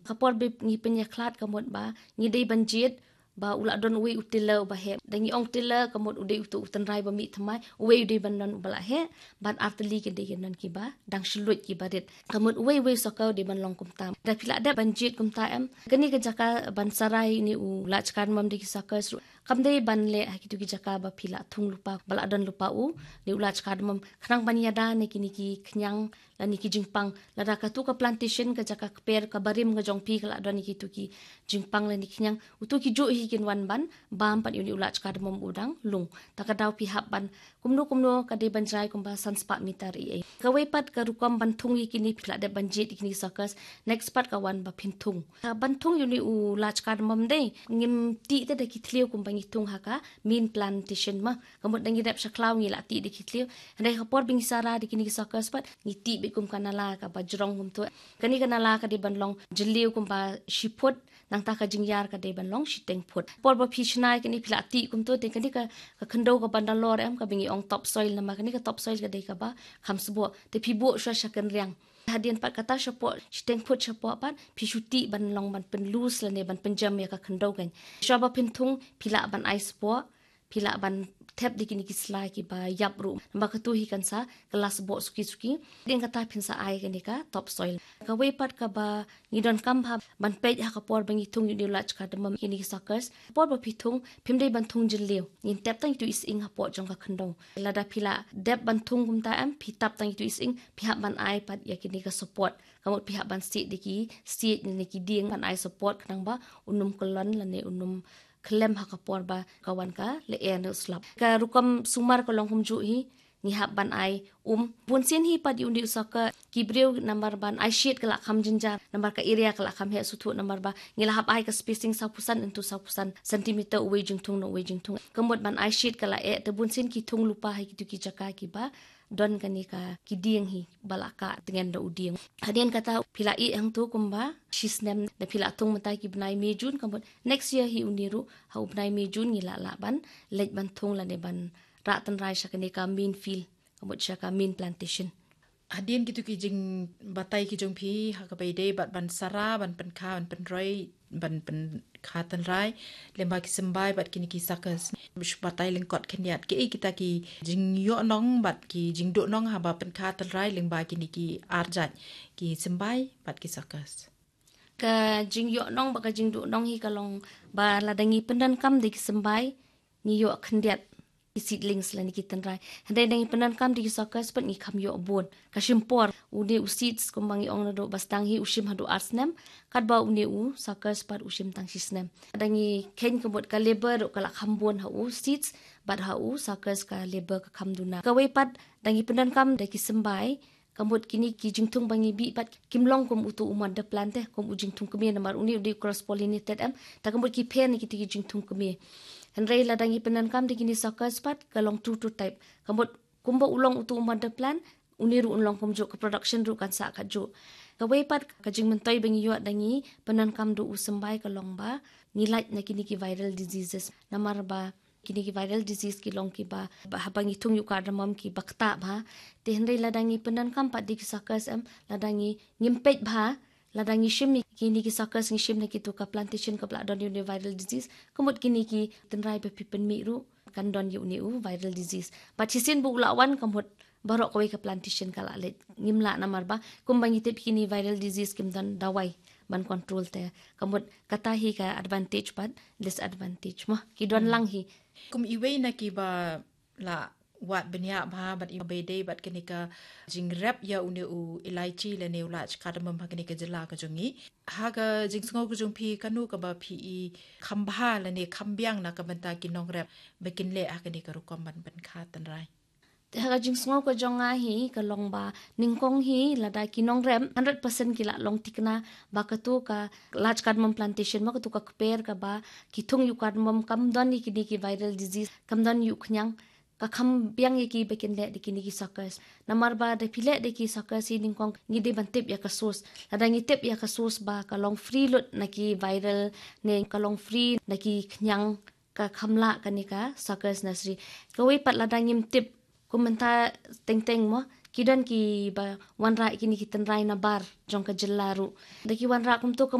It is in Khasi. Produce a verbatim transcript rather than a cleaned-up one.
Ka por ba ngi pynïakhlad ka mut ba ngi dei ban jied ba u la don uwei u tiller uba heh. Da ngi ong tiller ka mut u dei utu u tynrai ba mih thymmai, uwei u dei ban don uba la heh, bad artylli ki dei ki don kiba dang shluit kiba rit. Ka mut uwei uwei u sucker u dei ban long kumta. Da phi la dep ban jied kumta em, kane ka jaka ban sarai ïa une u lach cardamom da ki suckers ruh kam dei ban leh ha kitu ki jaka ba phi la thung lypa, ba la don lypa une u lach cardamom, khnang ban ïada na kine ki khñiang lane ki jingpang. Lada katu ka plantation ka jaka kper kaba rim ka jong phi ka la don ïa kitu ki jingpang lane ki khñiang, utu ki juh hi kin wan ban bam pat ïa une u lach cardamom u dang lung. Ta ka daw phi hap ban kumno kumno ka dei ban jngai kumba san spah meter ei ei. Kawei pat ka rukom ban thung ïa kine, phi la dep ban jied ïa kine ki suckers, next pat ka wan ba phin thung. Ka ban thung ïa une u lach cardamom dei, ngim tih te da ki thliew kumba ngi thung ha ka main plantation ma. Ka mut da ngi dep sha khlaw ngi la tih da ki thliew. Hynrei ka por ba ngi sarai da kine ki suckers pat ngi tih beit kum ka nala kaba jrong kumtu. Kane ka nala ka dei ban long jylliew kumba shi phut, nangta ka jingïar ka dei ban long shiteng phut. Por ba phi shna ïa kane phi la tih kumtu, te kane ka, ka khyndew kaba nalor em, kaba ngi ong top soil, namar kane ka top soil ka dei kaba kham sboh. Te phi buh shuwa sha kynriang. Hadien pat kata shapoh shiteng phut shapoh pat phi shu tih ban long ban pynloose lane ban pynjem ïa ka khyndew kan. Shuwa ba phin thung phi lah ban ai sboh, phi lah ban thep da kine ki sla kiba ïap ruh. Namar katu hi kan sa kylla sboh suki suki. Hadien kata phin sa ai kane ka top soil. Kawei pat kaba ngi donkam bha ban peit ha ka por ba ngi thung ïa une u lach cardamom, kine ki suckers. Ka por ba phi thung phim dei ban thung jylliew. Ngin tep tang ïa itu i sying hapoh jong ka khyndew. Lada phi la dep ban thung kumta em, phi tap tang ïa itu i sying, phi hap ban ai pat ïa kine ka support. Ka mut phi hap ban siej da ki siej ne ki dieng ban ai support khnang ba un ym kyllon lane un ym khyllem ha ka por ba ka wan ka lyer ne u slap. Ka rukom sumar ka long kumjuh hi, ngi hap ban ai um. Bun sien hi pat ïa une u sucker ki briew namar ban ai shade ka la kham jynjar, namar ka area ka la kham heh suthuh, namar ba ngi la hap ai ka spacing sawphew san into sawphew san centimeter uwei jingthung na uwei jingthung. Ka mut ban ai shade ka la eh, te bun sien ki thung lypa ha kitu ki jaka kiba don kane ka ki dieng hi ba la kah tngen da u dieng. Hadien kata phi la ïeh hangtu kumba shi snem, da phi la thung mynta ki bnai May June, ka mut next year hi une ruh ha u bnai May June ngi lah lah ban leit ban thung lane ban rah tynrai sha kane ka main field, ka mut sha ka main plantation. Hadien kitu ki jingbatai ki jong phi ha kaba ïadei bad ban sara, ban pynkha, ban pynroi, ban pynkha tynrai lyngba ki symbai bad kine ki suckers, shu batai lyngkot khyndiat kiei kita ki jingïoh nong bad ki jingduh nong haba pynkha tynrai lyngba kine ki ar jait, ki symbai bad ki suckers. Ka jingïoh nong bad ka jingduh nong hi ka long ba lada ngi pyndonkam da ki symbai ngi ïoh khyndiat ki seedlings lane ki tynrai. Hynrei da ngi pyndonkam da ki suckers pat ngi kham ïoh bun. Ka shim por, une u seeds kumba ngi ong naduh ba sdang hi u shim haduh ar snem, katba une u suckers pat u shim tang shi snem. Da ngi kheiñ ka mut ka labour ruh ka la kham bun ha u seeds bad ha u suckers ka labour ka kham duna. Kawei pat da ngi pyndonkam da ki symbai, ka mut kine ki jingthung ba ngi bih pat kim long kum utu u mother plant te, kum u jingthung kmie, namar une u dei u cross pollinated em, ta ka mut ki pher na kitu ki jingthung kmie. Hynrei lada ngi pyndonkam da kine suckers pat ka long true to type. Ka mut kumba u long utu u mother plant, une ruh un long kumjuh, ka production ruh kan sah kajuh. Kawei pat ka jingmyntoi ba ngi ïoh da ngi pyndonkam da u symbai ka long ba ngi lait na kine ki viral diseases. Namar ba kine ki viral disease ki long kiba, ba haba ngi thung ïa u cardamom kiba ktah bha. Te hynrei lada ngi pyndonkam pat da ki suckers em, lada ngi, ngim peit bha, lada ngi shim ïa kine ki suckers, ngi shim na kitu ka plantation kaba la don ïa une u viral disease, ka mut kine ki tynrai ba phi pynmih ruh kan don ïa une u viral disease. Bad shisien ba u la wan ka mut baroh kawei ka plantation ka la leit. Ngim lah namar ba kumba ngi tip kine viral disease kim don dawai ban control te. Ka mut kata hi ka advantage bad disadvantage mo. Ki don lang hi. Kum iwei na kiba la wad bniah bha bad iba ïadei bad kane ka jingrep ïa une u elaichi lane u lach cardamom ha kane ka jylla ka jong ngi, ha ka jingsngew ka jong phi kano kaba phi i kham bha lane kham biang na ka bynta ki nongrep ba kin leh ha kane ka rukom ban pynkha tynrai? Te ha ka jingsngew ka jong nga hi ka long ba nyngkong hi lada ki nongrep hundred percent ki la long thikna ba katu ka lach cardamom plantation, ma katu ka kper kaba ki thung ïa u cardamom kam don ïa kine ki viral disease, kam don ïa u khñiang, ka kham biang ïa ki ba kin leh da kine ki suckers. Namar ba da phi leh da ki suckers hi nyngkong ngi dei ban tip ïa ka source. Lada ngi tip ïa ka source ba ka long free lut na ki viral ne ka long free na ki khñiang, ka kham lah kane ka suckers nursery. Kawei pat lada ngim tip, kum mynta teng teng mo, ki don ki ba wanrah kine ki tynrai na bar jong ka jylla ruh. Da ki wanrah kumto ka